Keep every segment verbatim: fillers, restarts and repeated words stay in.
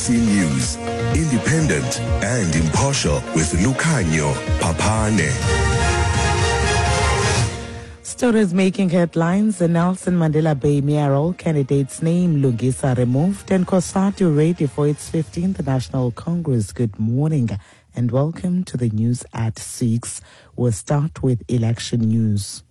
S A B C News, independent and impartial with Lucanio Papane. Stories making headlines: the Nelson Mandela Bay mayoral candidate's name Lungisa removed, and COSATU ready for its fifteenth National Congress. Good morning and welcome to the news at six. We'll start with election news.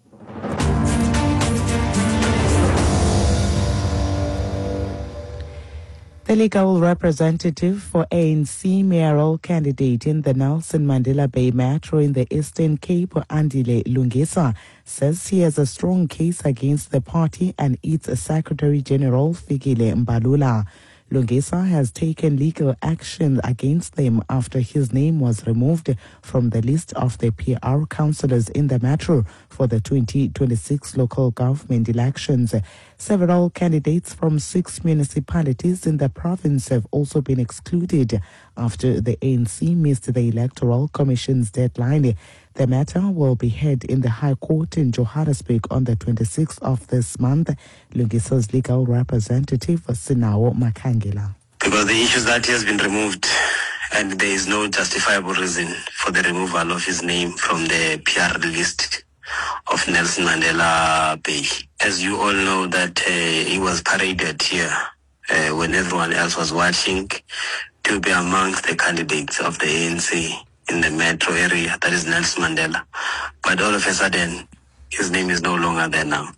The legal representative for A N C mayoral candidate in the Nelson Mandela Bay Metro in the Eastern Cape, Andile Lungisa, says he has a strong case against the party and its Secretary General, Fikile Mbalula. Lungisa has taken legal action against them after his name was removed from the list of the P R councillors in the metro for the twenty twenty-six local government elections. Several candidates from six municipalities in the province have also been excluded after the A N C missed the Electoral Commission's deadline. The matter will be heard in the High Court in Johannesburg on the twenty-sixth of this month. Lungisa's legal representative, Sinawo Makangela. Because the issue is that he has been removed and there is no justifiable reason for the removal of his name from the P R list of Nelson Mandela Bay. As you all know that uh, he was paraded here uh, when everyone else was watching to be amongst the candidates of the A N C in the metro area, that is Nelson Mandela. But all of a sudden, his name is no longer there now.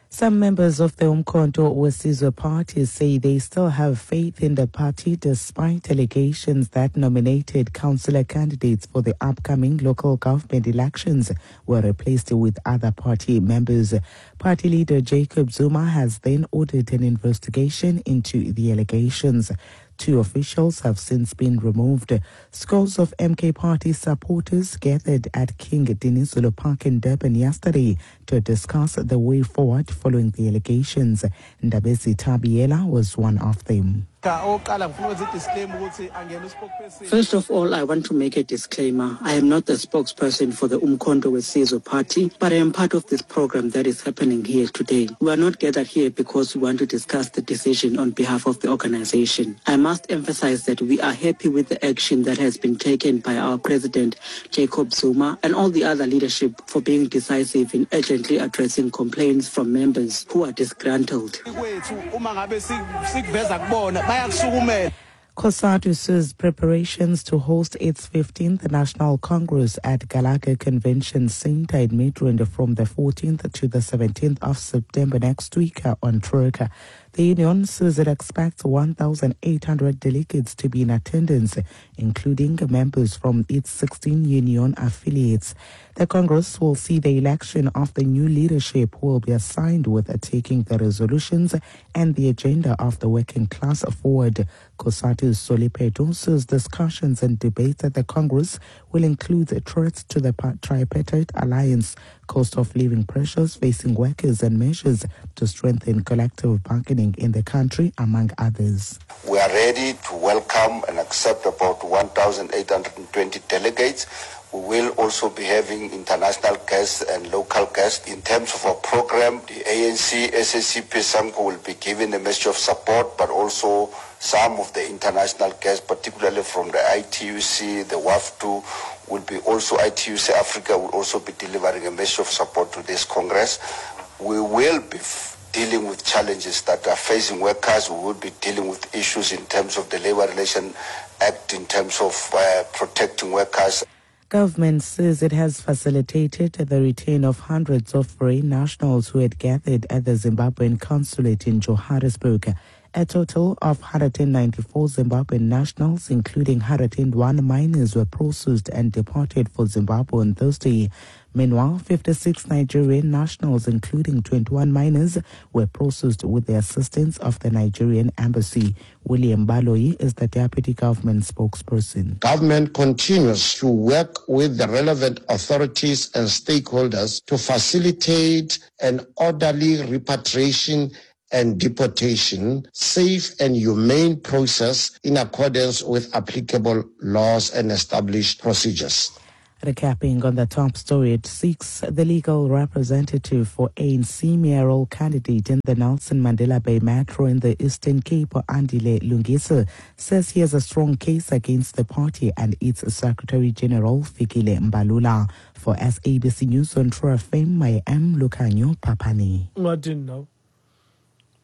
Some members of the Umkhonto weSizwe party say they still have faith in the party despite allegations that nominated councillor candidates for the upcoming local government elections were replaced with other party members. Party leader Jacob Zuma has then ordered an investigation into the allegations. Two officials have since been removed. Scores of M K Party supporters gathered at King Dinizulu Park in Durban yesterday to discuss the way forward following the allegations. Ndabezi Tabiela was one of them. First of all, I want to make a disclaimer. I am not the spokesperson for the Umkhonto weSizwe party, but I am part of this program that is happening here today. We are not gathered here because we want to discuss the decision on behalf of the organization. I must emphasize that we are happy with the action that has been taken by our president, Jacob Zuma, and all the other leadership for being decisive in urgently addressing complaints from members who are disgruntled. COSATU says preparations to host its fifteenth National Congress at Gallagher Convention Center in Midrand from the fourteenth to the seventeenth of September next week are on track. The union says it expects one thousand eight hundred delegates to be in attendance, including members from its sixteen union affiliates. The Congress will see the election of the new leadership who will be assigned with taking the resolutions and the agenda of the working class forward. COSATU's Solly Phetoe says discussions and debates at the Congress will include threats to the tripartite alliance, cost of living pressures facing workers, and measures to strengthen collective bargaining in the country, among others. We are ready to welcome and accept about one thousand eight hundred twenty delegates. We will also be having international guests and local guests. In terms of our program, the A N C, S A C P, SAMCO will be giving a message of support, but also some of the international guests, particularly from the I T U C, the W A F two, will be also, I T U C Africa will also be delivering a message of support to this Congress. We will be f- dealing with challenges that are facing workers. We will be dealing with issues in terms of the Labour Relations Act, in terms of uh, protecting workers. Government says it has facilitated the return of hundreds of foreign nationals who had gathered at the Zimbabwean consulate in Johannesburg. A total of one hundred ninety-four Zimbabwean nationals, including one hundred one minors, were processed and departed for Zimbabwe on Thursday. Meanwhile, fifty-six Nigerian nationals, including twenty-one minors, were processed with the assistance of the Nigerian embassy. William Baloyi is the deputy government spokesperson. Government continues to work with the relevant authorities and stakeholders to facilitate an orderly repatriation and deportation, safe and humane process in accordance with applicable laws and established procedures. Recapping on the top story at six, the legal representative for A N C mayoral candidate in the Nelson Mandela Bay Metro in the Eastern Cape, Andile Lungisa, says he has a strong case against the party and its Secretary General, Fikile Mbalula. For S A B C News on True F M, I am Lukanyo Papani. I didn't know.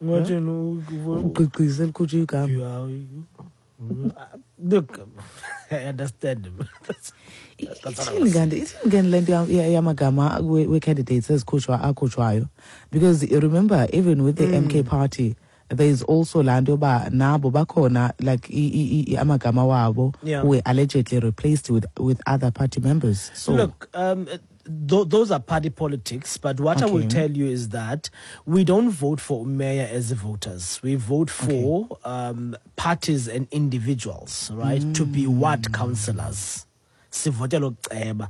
I didn't know. Look, I understand him. That's, that's ithini le nto yamagama we-candidates ezikhutshwa akhutshwayo, because remember, even with the mm. M K party, there is also laa nto yoba nabo bakhona, like amagama wabo yeah. were allegedly replaced with, with other party members. So look, um, th- those are party politics, but what okay. I will tell you is that we don't vote for mayor as voters. We vote for okay. um, parties and individuals, right, mm. to be ward councillors. Sivotela uceba.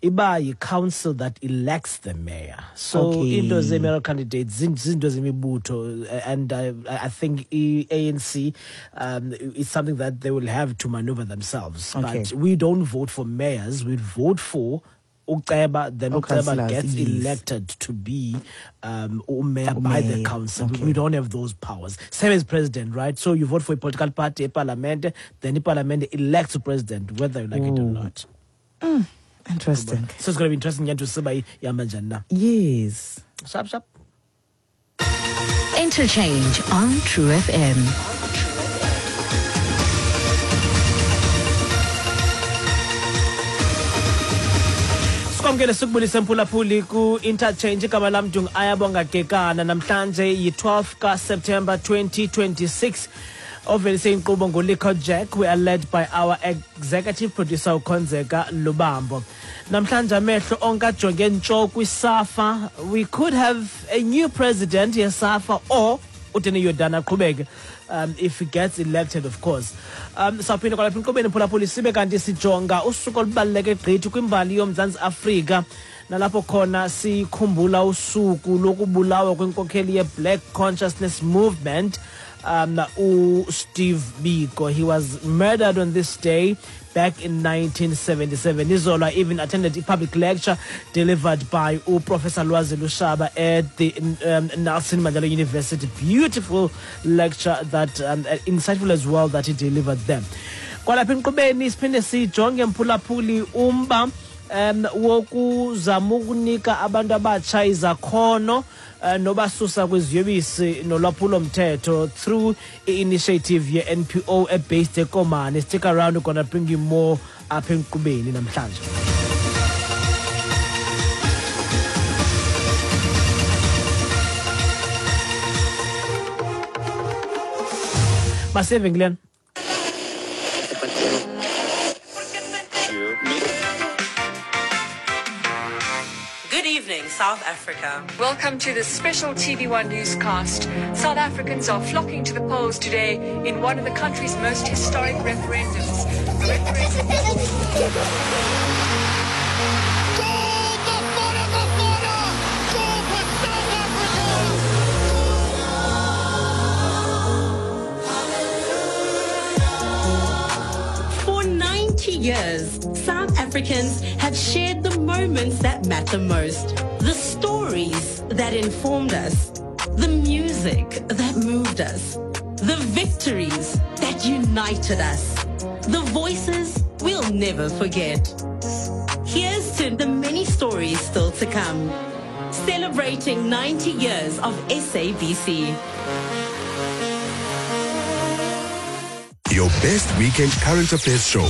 Iba yi-council that elects the mayor. So okay. into ze-mayoral candidates, zinto zemibutho, and I, I think A N C um, is something that they will have to maneuver themselves. Okay. But we don't vote for mayors, we vote for uceba, then uceba gets yes. elected to be um, mayor by the council. Okay. We don't have those powers. Same as president, right? So you vote for a political party, a parliament, then the parliament elects a president, whether you like mm. it or not. Mm. Interesting. So it's going to be interesting to see by Yamajana. Yes. Sharp, sharp. Interchange on True F M. Sikwamkele sikubulise mphulaphuli ku-Interchange. Igama lam Ayabonga Kekana. Namhlanje yi-twelve ka-September twenty twenty-six. Ovelise inkqubo nguLikho Jack. We are led by our executive producer uKhonzeka Lubambo. Namhlanje amehlo onke ajonge ntsho kwiSAFA. We could have a new president yeSAFA or uDanny Jordaan aqhubeke, um, if he gets elected, of course. Um, sawuphinda kwalapha inkqubeni mphulaphuli sibe kanti sijonga usuku olubaluleke gqithi kwimbali yoMzantsi Afrika, nalapho khona sikhumbula usuku lokubulawa kwenkokheli ye-Black Consciousness Movement, um, Steve Biko. He was murdered on this day back in nineteen seventy-seven. Izola even attended a public lecture delivered by Professor Lwazi Lushaba at the um, Nelson Mandela University. Beautiful lecture that, um, insightful as well, that he delivered there. Kwalapha inkqubeni siphinde sijonge mphulaphuli umba um wokuzama ukunika abantu abatsha izakhono uh, nobasusa kwiziyobisi nolwaphulo-mthetho through i-initiative ye-N P O ebased eKomani. Stick around, we're gonna bring you more apha enkqubeni namhlanje. Maseve Glenn. South Africa. Welcome to this special T V one newscast. South Africans are flocking to the polls today in one of the country's most historic referendums. Goal, Bafana, Bafana! Goal for South Africa! For ninety years, South Africans have shared the moments that matter most. The stories that informed us, the music that moved us, the victories that united us, the voices we'll never forget. Here's to the many stories still to come. Celebrating ninety years of S A B C. Your best weekend current affairs show.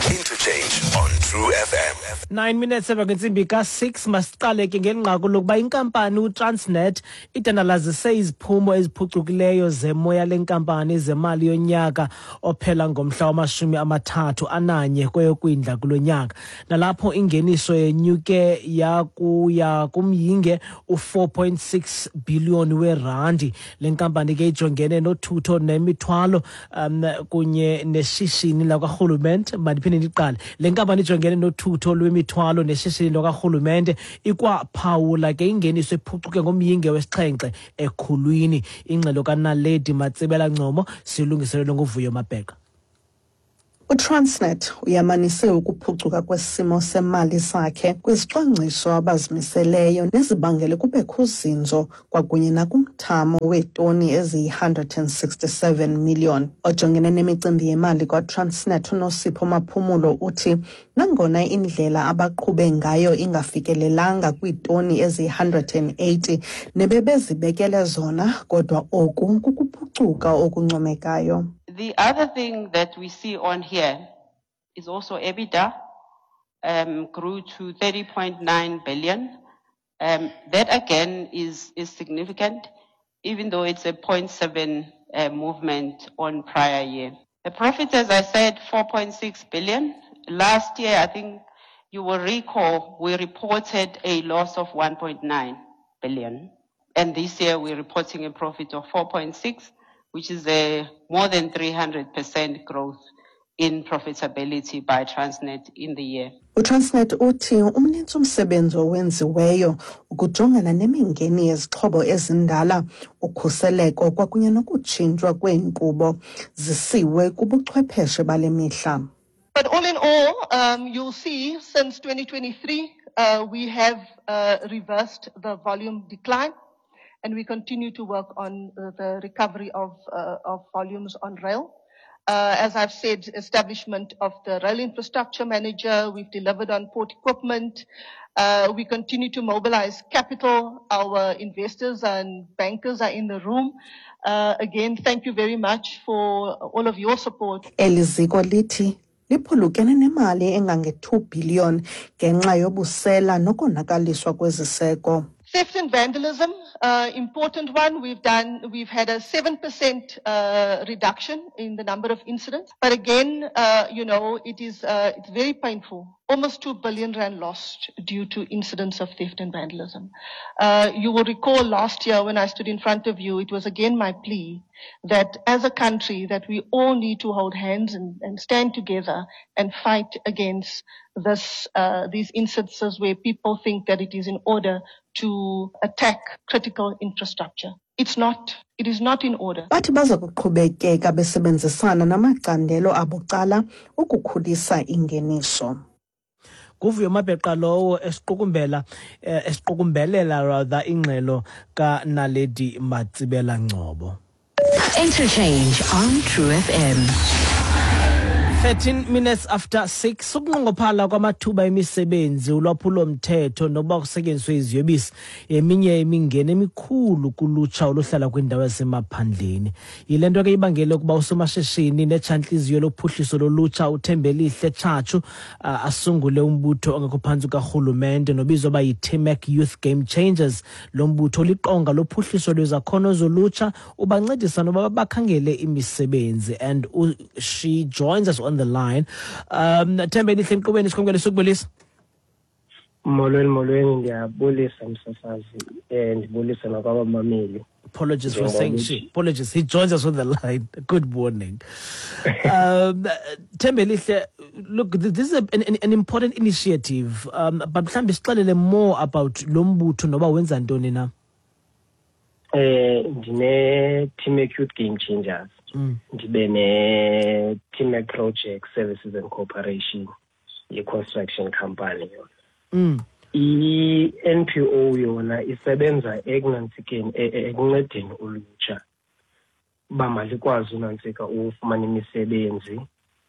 Interchange on True F M. Nine minutes emva kwentsimbi ka-six, masiqale ke ngenqaku lokuba inkampani uTransnet idandalazise iziphumo eziphucukileyo zemoya lenkampani zemali yonyaka ophela ngomhla wamashumi amathathu ananye kweyokwindla kulo nyaka. Nalapho ingeniso yenyuke yakuya kumyinge u-four point six billion werandi. Le nkampani ke ijongene nothutho nemithwalo um, kunye neshishini lakwarhulumente. Mandiphinde ndiqale. Le nkampani ijongene nothutho lwemithwalo neshishini lakwarhulumente ikwaphawula ke ingeniso ephucuke ngomyinge wesixhenxe ekhulwini. Ingxelo kaNaledi Matsibela Ncomo silungiselelwe nguVuyo Mabheka. UTransnet uyamanise ukuphucuka kwesimo semali sakhe kwizicwangciso abazimiseleyo nezibangele kubekho uzinzo kwakunye nakumthamo weetoni eziyi one hundred and sixty-seven million. Ojongene nemicimbi yemali kwaTransnet uNosipho Maphumulo uthi nangona indlela abaqhube ngayo ingafikelelanga kwiitoni eziyi one hundred and eighty nebebezibekele zona, kodwa oku kukuphucuka okuncomekayo. The other thing that we see on here is also EBITDA um, grew to thirty point nine billion. Um, that again is, is significant, even though it's a zero point seven uh, movement on prior year. The profit, as I said, four point six billion. Last year, I think you will recall, we reported a loss of one point nine billion. And this year we're reporting a profit of four point six, which is a more than three hundred percent growth in profitability by Transnet in the year. UTransnet uthi umnintsi umsebenzi owenziweyo ukujongana nemingeni yezixhobo ezindala, ukhuseleko kwakunye nokutshintshwa kweenkqubo zisiwe kubuchwepheshe bale mihla. But all in all, um, you'll see since twenty twenty-three, uh, we have uh, reversed the volume decline, and we continue to work on the recovery of, uh, of volumes on rail. Uh, as I've said, establishment of the rail infrastructure manager, we've delivered on port equipment. Uh, we continue to mobilize capital. Our investors and bankers are in the room. Uh, again, thank you very much for all of your support. Eli ziko lithi liphulukene nemali engange two billion ngenxa yobusela nokonakaliswa kweziseko. Theft and vandalism, uh, important one. We've done, we've had a seven percent, uh, reduction in the number of incidents. But again, uh, you know, it is, uh, it's very painful. Almost two billion rand lost due to incidents of theft and vandalism. Uh, you will recall last year when I stood in front of you, it was again my plea that as a country that we all need to hold hands and, and stand together and fight against this, uh, these instances where people think that it is in order to attack critical infrastructure. It's not. It is not in order. Bathi baza kuqhubekeka besebenzisana namacandelo abucala ukukhulisa ingeniso. Kuvuyo Mabheqa lowo esiqukumbela esiqukumbelela rather ingxelo kaNaledi Matsibela Ngcobo. Interchange on True F M. thirteen minutes after six, ukunqongophala kwamathuba emisebenzi, ulwaphulo-mthetho nokuba kusetyenziswe iziyobisi yeminye imingeni emikhulu kulutsha oluhlala kwiindawo ezisemaphandleni. Yile nto ke ibangele ukuba usomashishini netshantliziyo lophuhliso lolutsha uThembelihle Tshatshu asungule umbutho ongekho phantsi kukarhulumente nobizwa uba yi-T M A C Youth Game Changers. Lo mbutho liqonga lophuhliso lwezakhono zolutsha, ubancedisa noba bakhangele imisebenzi. And she joins us on the line. Um, Thembelihle, enkqubeni sikhongele sukubulisa. Molweni, molweni, ndiyabulisa msasazi, eh ndibulisa nakwabamameli. Apologies for saying she. Apologies. He joins us on the line. Good morning. um, Thembelihle, look, this is a, an, an important initiative. Um, but mhlambi sixelele more about lo mbutho noba wenza ntoni na? Eh ndine T M A C Youth Game Changers. Ndibe ne T M A C Project Services and Corporation, ye-construction company yona. Mm. I-N P O yona isebenza ekunantsikeni, ekuncedeni ulutsha uba malikwazi unantsika ufumana imisebenzi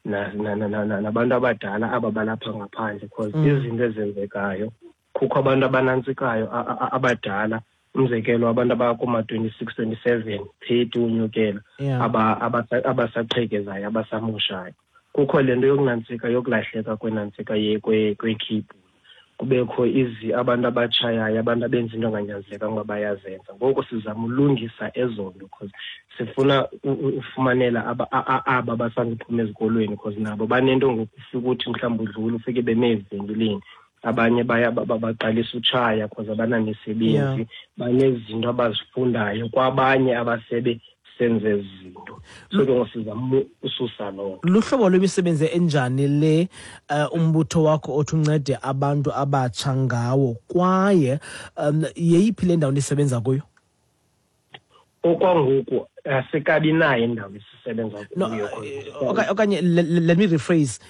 nabantu abadala aba balapha ngaphandle, because izinto ezenzekayo kukho abantu abanantsikayo abadala, umzekelo abantu abakuma twenty-six, twenty-seven, thirty unyukela, abasaqhekezayo, abasamoshayo. Kukho le nto yokunantsika yokulahleka kwenantsika kwekhibhuli, kubekho izi abantu abatshayayo, abantu abenza into enganyanzelekanga uba bayazenza. Ngoku sizama ulungisa ezo nto because sifuna ufumanela aba basanduphuma ezikolweni, because nabo banento ngoku ufika uthi mhlawumbi udlula ufike beme ezivenkileni, abanye baya baqalisa utshaya because abanamisebenzi, banezinto abazifundayo kwabanye abasebe senze izinto. So ke ngosizama ususa lo. Luhlobo lwemisebenzi enjani le umbutho wakho othi uncede abantu abatsha ngawo, kwaye um yeyiphi le ndawo nisebenza kuyo? Okwangoku Asikabi nayo indawo esisebenza kuyo. Okanye let me rephrase,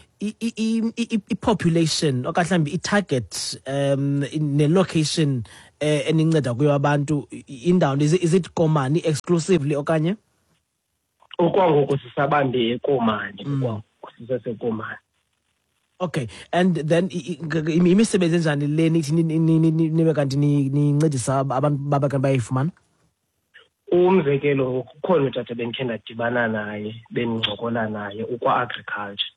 i-population okanye mhlawumbi i-target um ne-location eninceda kuyo abantu, indawo is it Komani exclusively okanye? Okwangoku sisabambe eKomani, okwangoku siseseKomani. Okay, and then imisebenzi enjani le nithi nibe kanti nincedisa abantu babe kanti bayayifumana? Umzekelo, kukhona utata bendikhe ndadibana naye, bendincokola naye ukwa-agriculture.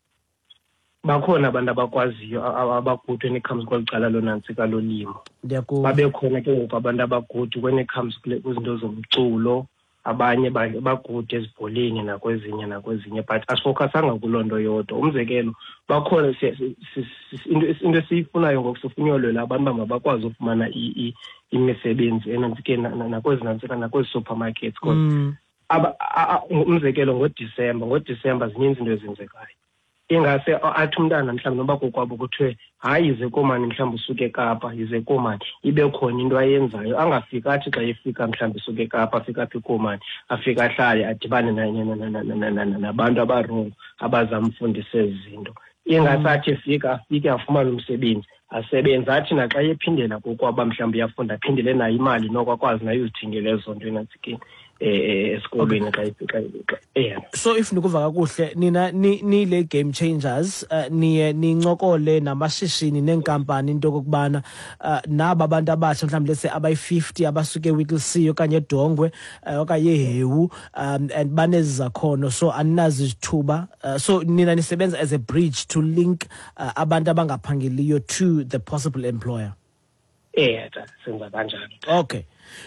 Bakhona abantu abakwaziyo abagudu when it comes kweli cala lonantsika lolimo. Babe khona ke ngoku abantu abagudu when it comes kwizinto zomculo, abanye bagudu ezibholeni nakwezinye nakwezinye, but asifocusanga kuloo nto yodwa. Umzekelo, bakhona into esiyifunayo ngoku, sifuna uyolwela abantu uba mabakwazi ufumana imisebenzi enantsikeni nakwezi nantsika nakwezi supermarkets. Because umzekelo ngoDisemba, ngoDisemba zininzi izinto ezenzekayo. Ingase athi umntana mhlawumbi noba kokwabo kuthiwe hayi yize Komani, mhlawumbi usuke eKapa, yize Komani, ibe khona into ayenzayo. Angafika athi xa efika mhlawumbi usuke eKapa, afike apha eKomani, afike ahlale adibane nabantu abarongo abazamfundisa ezi zinto. Ingase athi efika afike afumane umsebenzi, asebenze, athi naxa ephindela kokwabo mhlawumbi uyafunda, aphindele nayo imali noko akwazi nayo uzithengela ezo nto enantsikeni esikolweni xa xa yeah. So if nikuva kakuhle nina ni le game changers, uh, niye nincokole namashishini neenkampani into okokubana uh, naba abantu abatsha mhlawumbi lese abayi-fifty abasuke eWhittlesea okanye eDongwe uh, okanye eHewu, um, and banezakhono, so aninazi izithuba, uh, so nina nisebenza as a bridge to link uh, abantu abangaphangeliyo to the possible employer. Eh, senza kanjalo. Okay.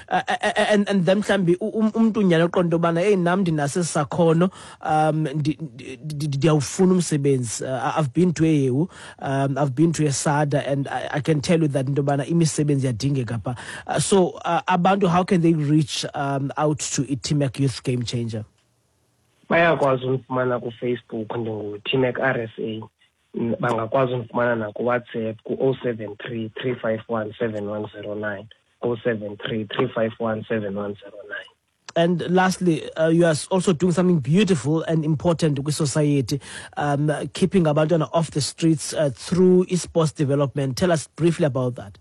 Uh, and and then mhlambi umuntu unyana oqonda ubana hey nam ndinaso sakhono, um ndiyawufuna umsebenzi. I've been to eHewu, um I've been to eSada, and I, I can tell you that into yobana imisebenzi iyadingeka pha. Uh, so uh, abantu, how can they reach um out to iTMAC Youth Game Changer? Bayakwazi undifumana kuFacebook, ndinguTMAC R S A. Bangakwazi undifumana nakuWhatsApp ku oh seven three, three five one, seven one zero nine. oh seven three, three five one, seven one zero nine. And lastly, uh, you are also doing something beautiful and important with society, um, keeping abantwana off the streets uh, through esports development. Tell us briefly about that.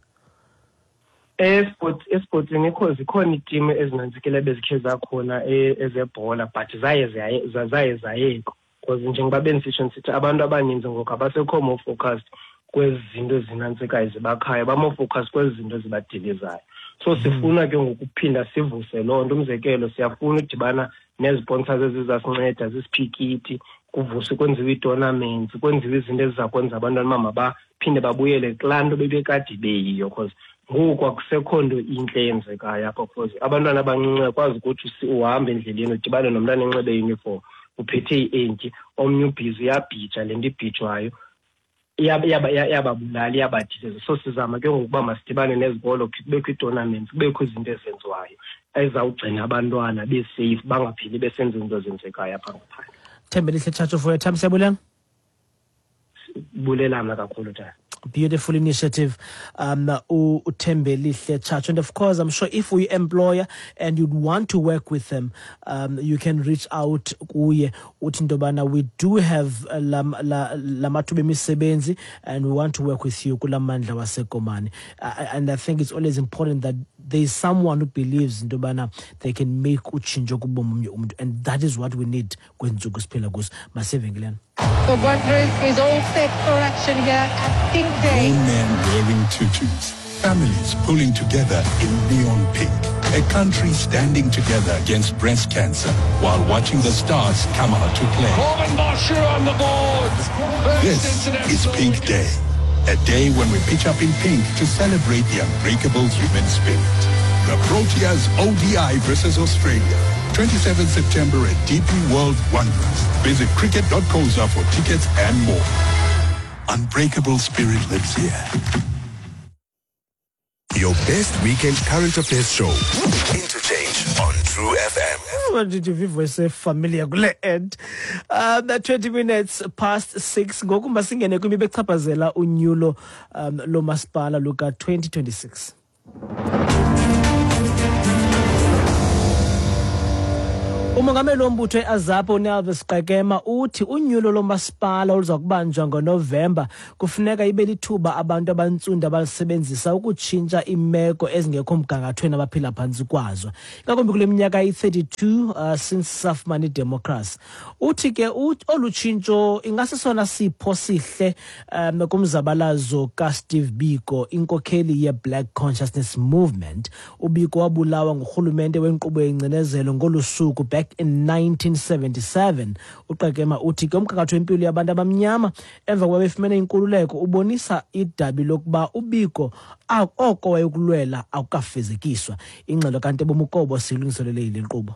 Esports, esports zikhona zikhona iitimu ezinantsikile bezikhe zakhona ezebhola, but zaye zaye zayekho. Because njengoba bendisitsho ndisithi abantu abaninzi ngoku abasekho more focused kwezi zinto ezinantsikayo zibakhayo, ba-more focused kwezi zinto zibadilizayo. So sifuna ke ngokuphinda sivuse loo nto. Umzekelo, siyafuna udibana neziponsors ezizasinceda zisiphikiti, kuvuswe kwenziwe ii-tournaments, kwenziwe izinto eziza kwenza abantwana uba mabaphinde babuyele kulaa nto bebekade beyiyo, because ngoku akusekho nto intle eyenzekayo apha. Because abantwana abancinci akwazi ukuthi uhambe endleleni udibane nomntana enxibe i-uniform, uphethe i-entyi, omnye ubhizi uyabhija le nto ibhijwayo, iyababulala, iyabadiliza. So sizama ke ngokuba masidibane nezikolo, kubekho ii-tournaments, kubekho izinto ezenziwayo ezizawugcina abantwana besafe, bangaphili besenza izinto ezenzekayo apha ngaphandle. Thembelihle Tshatsho for your time, siyabulela. Bulelana kakhulu tata. Beautiful initiative, um, uThembelihle Tshatsho. And of course, I'm sure if we employer and you'd want to work with them, um, you can reach out kuye uthi into yobana we do have lamathuba emisebenzi and we want to work with you kula mandla waseKomani. Uh, and I think it's always important that there is someone who believes into yobana they can make utshintsho kubomi bomnye umntu, and that is what we need kwezi siphila kuzo. Masivenkileni. The Wanderers is all set for action here at Pink Day. Grown men wearing tutus, families pulling together in neon pink, a country standing together against breast cancer while watching the stars come out to play. Corbin Boscher on the board. This is Pink Day, a day when we pitch up in pink to celebrate the unbreakable human spirit. The Proteas O D I versus Australia, twenty-seventh September at D P World Wanderers. Visit cricket dot co za for tickets and more. Unbreakable spirit lives here. Your best weekend current affairs show, Interchange on True F M. What did you voice familiar kule end? Um, twenty minutes past six. Ngoku masingene kwimiba echaphazela unyulo um, lomasipala luka twenty twenty-six. Umongameli wombutho e-AZAPO uNelvis Qekema uthi unyulo lomasipala oluza kubanjwa ngoNovemba kufuneka ibe lithuba abantu abantsundu abalisebenzisa ukutshintsha iimeko ezingekho mgangathweni abaphila phantsi kwazo, ingakumbi kule minyaka iyi-thirty-two uh, since safumana idemokhrasi. Uthi ke olu tshintsho ingasesona sipho sihle um kumzabalazo kaSteve Biko, inkokheli ye-Black Consciousness Movement. UBiko wabulawa ngurhulumente wenkqubo yengcinezelo ngolu suku back in nineteen seventy-seven. UQekema uthi ke umgangatho wempilo yabantu abamnyama emva kokuba befumene inkululeko ubonisa idabi lokuba uBiko oko wayekulwela akukafezekiswa. Ingxelo kaNtebo Mukobo siyilungiselele yile nkqubo.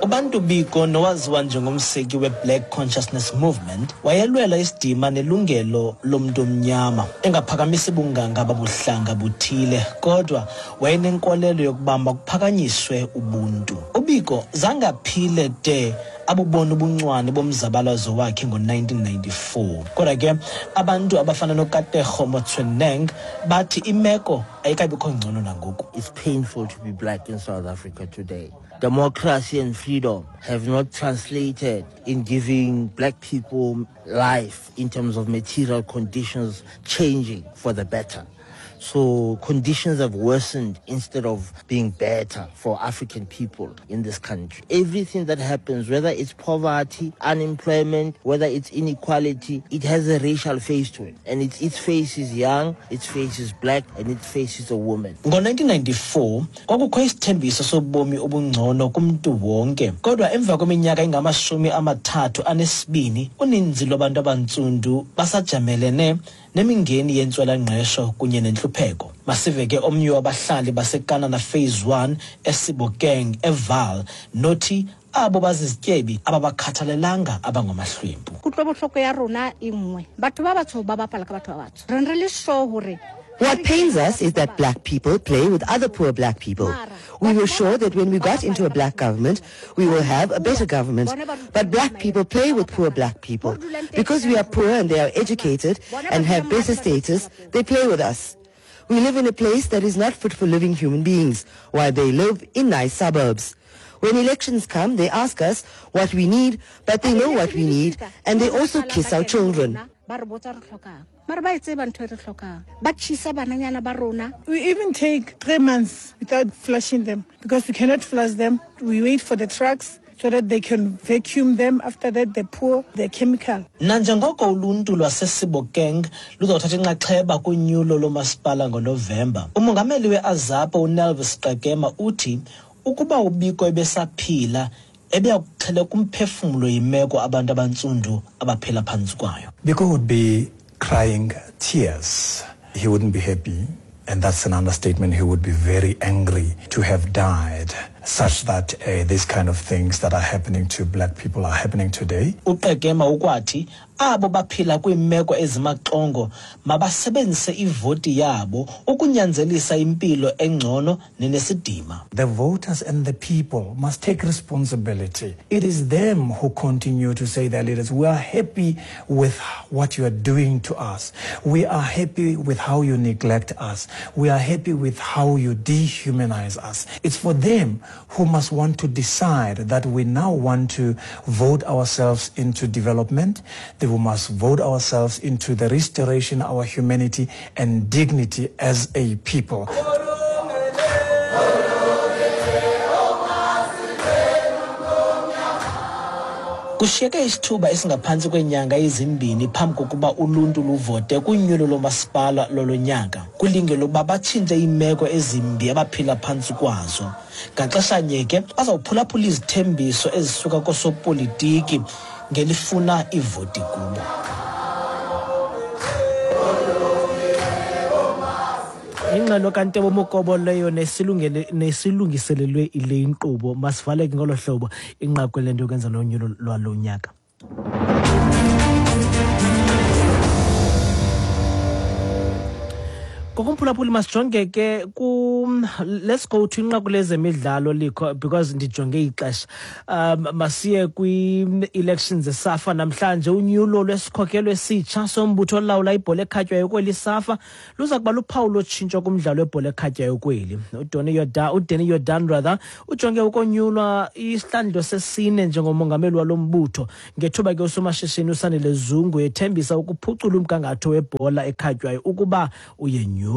Ubantu Biko, nowaziwa njengomseki we-Black Consciousness Movement, wayelwela isidima nelungelo lomntu omnyama, engaphakamisi bunganga babuhlanga buthile, kodwa wayenenkolelo yokuba makuphakanyiswe ubuntu. UBiko zange aphile de abubona ubuncwane bomzabalazo wakhe ngo-nineteen ninety-four. Kodwa ke abantu abafana noKatlego Motsoeneng bathi imeko ayikabikho ngcono nangoku. It's painful to be black in South Africa today. Democracy and freedom have not translated in giving black people life in terms of material conditions changing for the better. So conditions have worsened instead of being better for African people in this country. Everything that happens, whether it's poverty, unemployment, whether it's inequality, it has a racial face to it. And its, its face is young, its face is black, and its face is a woman. Ngo-nineteen ninety-four, kwakukho isithembiso sobomi obungcono kumntu wonke. Kodwa emva kweminyaka engamashumi amathathu anesibini, uninzi lwabantu abantsundu basajamelene nemingeni yentswelangqesho kunye nentlupheko. Masive ke omnye wabahlali baseKanana Phase one eSebokeng eVaal nothi abo bazizityebi ababakhathalelanga abangamahlwempu. Kutlobohloko ya rona e nngwe. Batho ba batsho ba bapala ka batho ba batsho. Re re le sure hore What pains us is that black people play with other poor black people. We were sure that when we got into a black government, we will have a better government. But black people play with poor black people. Because we are poor and they are educated and have better status, they play with us. We live in a place that is not fit for living human beings, while they live in nice suburbs. When elections come, they ask us what we need, but they know what we need, and they also kiss our children. We even take three months without flushing them because we cannot flush them. We wait for the trucks so that they can vacuum them. After that, they pour the chemical. Nanjengoko uluntu lwaseSebokeng luzawuthatha inxaxheba kunyulo lomasipala ngoNovemba, umongameli we-AZAPO uNelvis Qekema uthi ukuba uBiko ebesaphila ebeyakuxheleka kumphefumlo yimeko abantu abantsundu abaphila phantsi kwayo. Biko would be crying tears. He wouldn't be happy, and that's an understatement. He would be very angry to have died, such that uh, these kind of things that are happening to black people are happening today. UQekema ukwathi abo baphila kwiimeko ezimaxongo mabasebenzise ivoti yabo ukunyanzelisa impilo engcono nenesidima. The voters and the people must take responsibility. It is them who continue to say their leaders, we are happy with what you are doing to us. We are happy with how you neglect us. We are happy with how you dehumanize us. It's for them who must want to decide that we now want to vote ourselves into development, that we must vote ourselves into the restoration of our humanity and dignity as a people. Kushiyeke isithuba esingaphantsi kweenyanga ezimbini phambi kokuba uluntu luvote kunyulo lomasipala lolonyaka. Kulinge lokuba batshintshe iimeko ezimbi abaphila phantsi kwazo. Ngaxeshanye ke bazawuphulaphula izithembiso ezisuka koosopolitiki ngelifuna ivoti kubo. Ingxelo kaNtebo Mokobo leyo nesilungiselelwe ile inkqubo. Masivaleke ngolo hlobo inqaku lento yokwenza nonyulo lwalo nyaka. Ngokumphulaphuli masijonge ke ku let's go to inqaku lezemidlalo likho because ndijonge ixesha. Um masiye kwi-elections zeSAFA namhlanje. Unyulo lwesikhokelo esitsha sombutho olawula ibhola ekhatywayo kweli SAFA luza kuba luphawu lotshintsho kumdlalo webhola ekhatywayo kweli. uDonny Jordaan uDanny Jordaan rather ujonge ukonyulwa isihlandlo sesine njengomongameli walo mbutho ngethuba ke usomashishini uSandile Zungu ethembisa ukuphucula umgangatho webhola ekhatywayo ukuba uyenyulwa.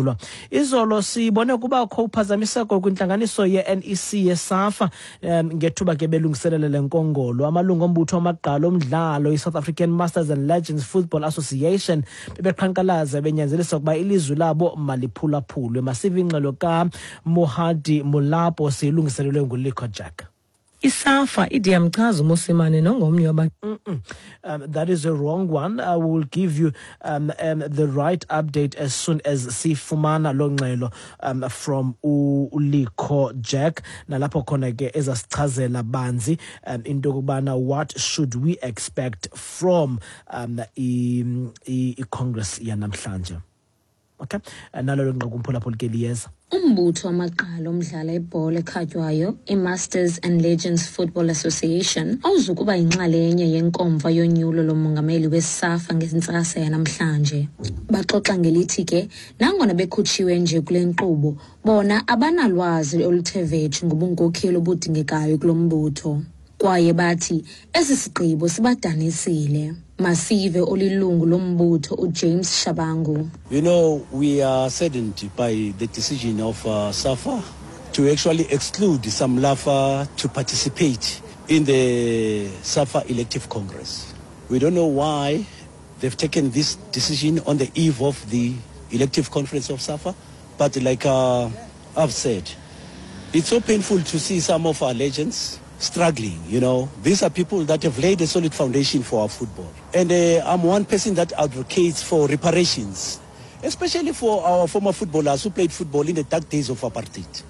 Izolo sibone kubakho uphazamiseko kwintlanganiso ye-N E C yeSAFA um, ngethuba ke belungiselele le nkongolo. Amalungu ombutho wamagqalo omdlalo i-South African Masters and Legends Football Association bebeqhankqalaza benyanzelisa ukuba ilizwi labo maliphulaphulwe. Masive ingxelo kaMohadi Molapo siyilungiselelwe nguLikho Jack. ISAFA ide yamchaza uMosimane nongomnye waba Um, that is a wrong one. I will give you um, um, the right update as soon as sifumana lo ngxelo um, from uLikho Jack nalapho khona ke ezasichazela banzi um, into yokubana what should we expect from um, i-Congress yanamhlanje. Okay, nalo nqaku umphulaphuli ke liyeza. Umbutho wamagqalo omdlala ibhola ekhatywayo iMasters and Legends Football Association awuzukuba yinxalenye yenkomfa yonyulo lomongameli weSAFA ngentsasa yanamhlanje. Baxoxa ngelithi ke nangona bekhutshiwe nje kule nkqubo, bona abanalwazi oluthe vetshe ngobunkokheli obudingekayo kulo mbutho. Kwaye bathi esi sigqibo sibadanisile. Masive olilungu lombutho uJames Shabangu. You know, we are saddened by the decision of uh, SAFA to actually exclude some LAFA to participate in the SAFA elective congress. We don't know why they've taken this decision on the eve of the elective conference of SAFA, but like uh, I've said, it's so painful to see some of our legends struggling, you know. These are people that have laid a solid foundation for our football. And uh, I'm one person that advocates for reparations, especially for our former footballers who played football in the dark days of apartheid.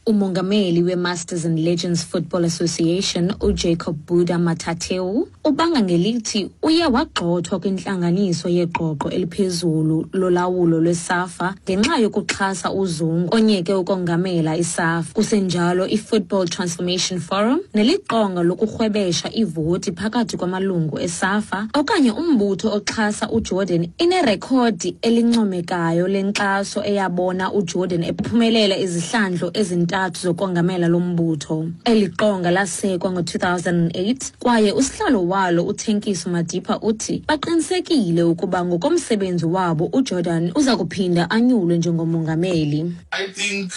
Umongameli we-Masters and Legends Football Association uJacob Buddha Matateu ubanga ngelithi uye wagxothwa kwintlanganiso yeqoqo eliphezulu lolawulo lweSAFA ngenxa yokuxhasa uZungu onyeke ukongamela iSAFA. Kusenjalo i-Football Transformation Forum neliqonga lokurhwebesha ivoti phakathi kwamalungu eSAFA okanye umbutho oxhasa uJordan inerekhodi elincomekayo lenkxaso eyabona uJordan ephumelela izihlandlo ezintathu zokongamela lombutho. Eli qonga lasekwa ngo-two thousand eight kwaye usihlalo walo uThenkiso Madipa uthi baqinisekile ukuba ngokomsebenzi wabo uJordan uza kuphinda anyulwe njengomongameli. I think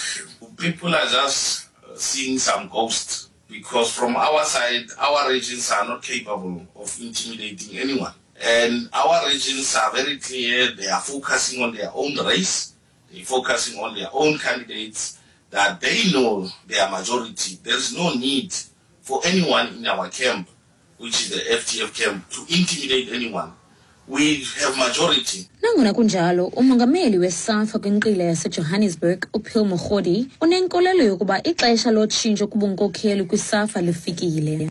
people are just seeing some ghosts because from our side, our regions are not capable of intimidating anyone. And our regions are very clear. They are focusing on their own race. They're focusing on their own candidates that they know their majority. There's no need for anyone in our camp, which is the F T F camp, to intimidate anyone. We have majority. Nangona kunjalo, umongameli weSAFA kwinqila yaseJohannesburg uPhil Mogodi unenkolelo yokuba ixesha lotshintsho kubunkokheli kwiSAFA lifikile.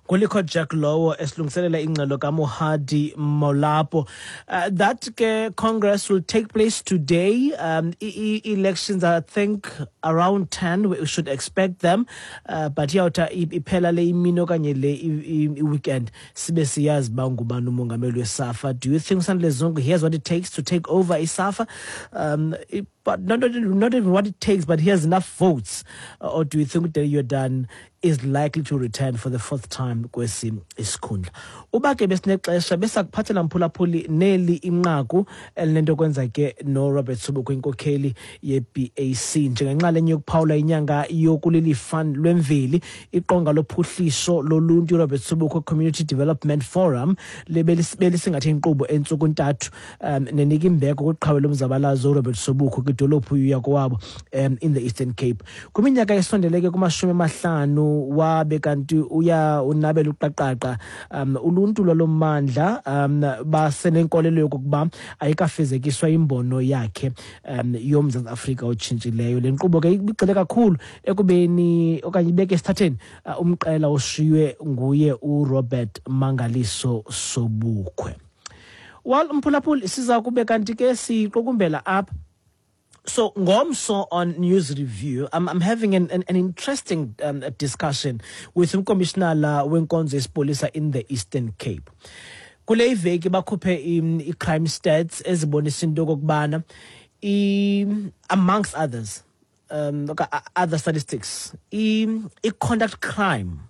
Ngulikho Jack lowo esilungiselela ingxelo kaMohadi Molapo. Uh, that ke Congress will take place today. Um, e -e elections, I think, around ten. We should expect them. Uh, but iyawuthi iphela le imini okanye le weekend sibe siyazi uba ngubani umongameli weSAFA. Do you think Sandile Zungu here's what it takes to take over iSAFA? Um, it, but not, not even what it takes, but he has enough votes. Uh, or do you think that Jordaan is likely to return for the fourth time kwesi isikhundla? Uba ke besinexesha besakuphathela mphulaphuli neli inqaku elinento kwenza ke no Robert Sobukwe inkokheli ye-B A C njengenxalenye yokuphawula inyanga yokulilifa lwemveli iqonga lophuhliso loluntu Robert Sobukwe Community Development Forum lebelisingathe inkqubo entsuku ntathu um, nenika imbeko kwiqhawe lomzabalazo uRobert Sobukwe kwidolophu yakowabo um, in the Eastern Cape. Kwiminyaka esondeleke kumashumi amahlanu wabe kanti uya unabela uqaqaqa um uluntu lwalomandla um basenenkolelo yokuba ayikafezekiswa imbono yakhe um yoMzantsi Afrika otshintshileyo. Le nkqubo ke ibigxile kakhulu ekubeni okanye ibeke esithatheni uh, umqela oshiywe nguye uRobert Mangaliso Sobukwe. Well, mphulaphuli, siza kube kanti ke siqukumbela apha. So ngomso on News Review, I'm, I'm having an, an, an interesting um, discussion with umkomishinala wenkonzo yesipolisa in the Eastern Cape. Kule iveki bakhuphe i-crime stats ezibonisa into okokubana, amongst others, um, other statistics, i-conduct crime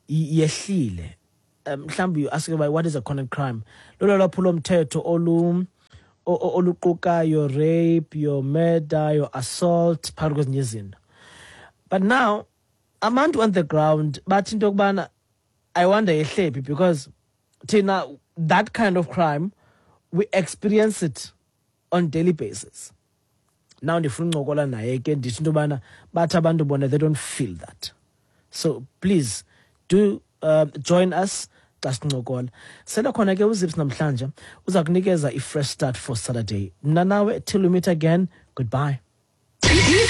yehlile. Mhlawumbi you ask about what is a conduct crime. Lolo lwaphulo mthetho olu oluquka your rape, your murder, your assault, phakathi kwezinye izinto. But now, abantu on the ground bathi into yokubana, I wonder yehlephi, because thina that kind of crime we experience it on daily basis. Now ndifuna uncokola naye ke, ndithi into yobana bathi abantu bona they don't feel that. So please do uh, join us xa sincokola. Sele khona ke uZips namhlanje uza kunikeza i-fresh start for Saturday. Mna nawe till we meet again, goodbye.